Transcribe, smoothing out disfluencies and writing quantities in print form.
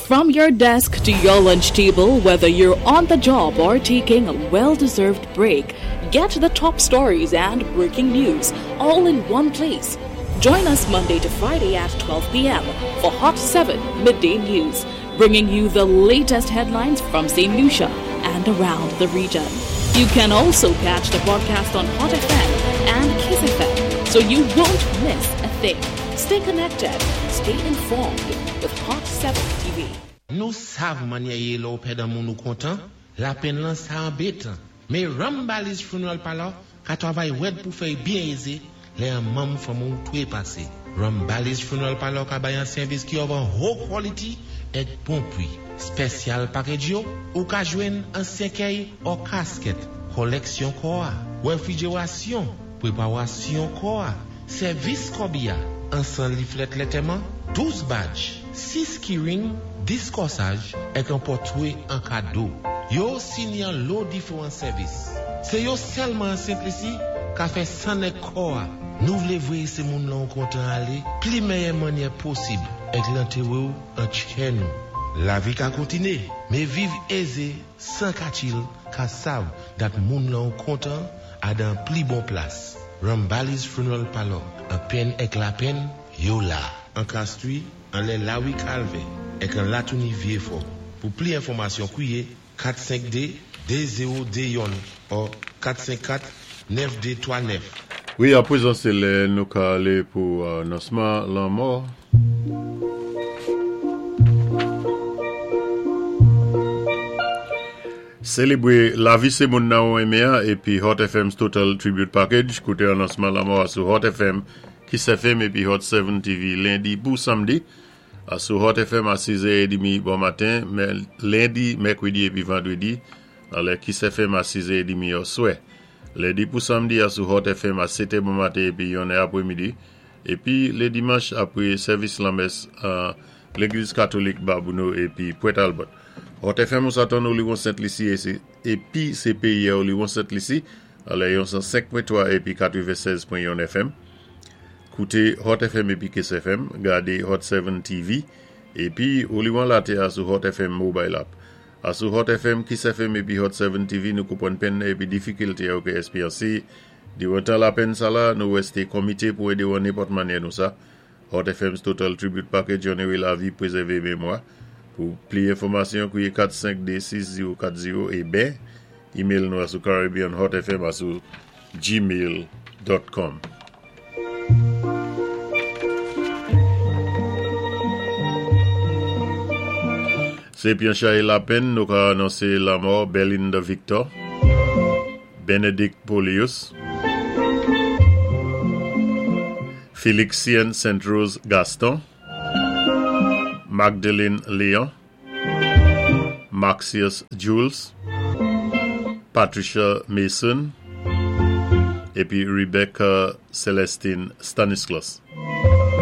From your desk to your lunch table, whether you're on the job or taking a well deserved break, get the top stories and breaking news all in one place. Join us Monday to Friday at 12 p.m. for Hot 7 Midday News, bringing you the latest headlines from St. Lucia and around the region. You can also catch the broadcast on Hot FM and Kiss FM, so you won't miss a thing. Stay connected, stay informed with Hot 7 TV. Nou sav mannyè yé lè ou pèd an moun ou kontan, lapenn lan sa anbétan. Mé Rambali's Funeral Parlor ka twavay wèd pou fè y byen ézé lè an manm fanmi ou twépasé. Rambali's Funeral Parlor ka bay an sèvis ki of an ho quality èk bon pwi. Spèsyal package yo, ou ka jwenn an sèkèy or casket, kòlèksyon kò-a, wèfwijérasyon, pwépawasyon kò-a, sèvis kòbi-a, ansan liflèt lètèman, 12 badge, 6 keyring, 10 kòsaj, èk an pòtwé an kado. Yo sini an lo diféwan sèvis. Sé yo sèlman an Sent Lisi ka fè sann èk kò-a. Nou vlé vwéyé sé moun lan ou kontan alé pli mèyè mannyè posib èk lantéwé-w an tchè nou. Lavi ka kontiné, mé viv ézé 104 il ka sav dat moun lan ou kontan a dan pli bon plas. Rambali's Funeral Parlor, an penn èk lapenn, yo la. An Castries, anlè Lawi Kalvè, èk an Latouni Vyéfò. Pou pli enfòmasyon kwiyé 452 2021 or 454 9239. Wi, apwézan sé lè nou ka alé pou anonsman lanmò. Sélébwé lavi sé moun nan ou renmen an épi Hot FM's Total Tribute Package. Kouté anonsman lanmò a sou Hot FM, Kiss FM épi Hot 7 TV lendi pou samdi. Sou Hot FM a 6 è edmi bon maten, lendi, mèkredi épi vandredi lè Kiss FM a 6 è edmi oswè. Lendi pou samdi a sou Hot FM a 7 è bon maten épi 1 è aprèmidi. Épi lé dimanch apwé sèvis lanmès an Légliz Katolik Babouno épi Pwent Albert. Hot FM ou sa tann Oliwon Sent Lisi épi sé péyi a Oliwon Sent Lisi lè yon 105.3 épi 96.1 FM. Kouté Hot FM épi Kiss FM, gadé Hot 7 TV, épi Oliwon Latè a sou Hot FM Mobile App. A sou Hot FM, Kiss FM épi Hot 7 TV nou konpwann penn épi difikilté ou ka èspéryansé diwan tan lapenn sala, nou wèsté komité pou édé ou an nenpòt mannyè nou sa. Hot FM's Total Tribute Package onoré lavi, pwézèvé mémwa. Pou pli enfòmasyon, kwiyé 452 6040 é ben email nou a sou caribbeanhotfm a sou gmail.com. Sé pi an chay lapenn nou ka anonsé lanmò Berlinda Victor, Benedict Polius, Felixien Saint Rose Gaston, Magdalene Léon, Maxius Jules, Patricia Mason, épi Rebecca Celestine Stanislas.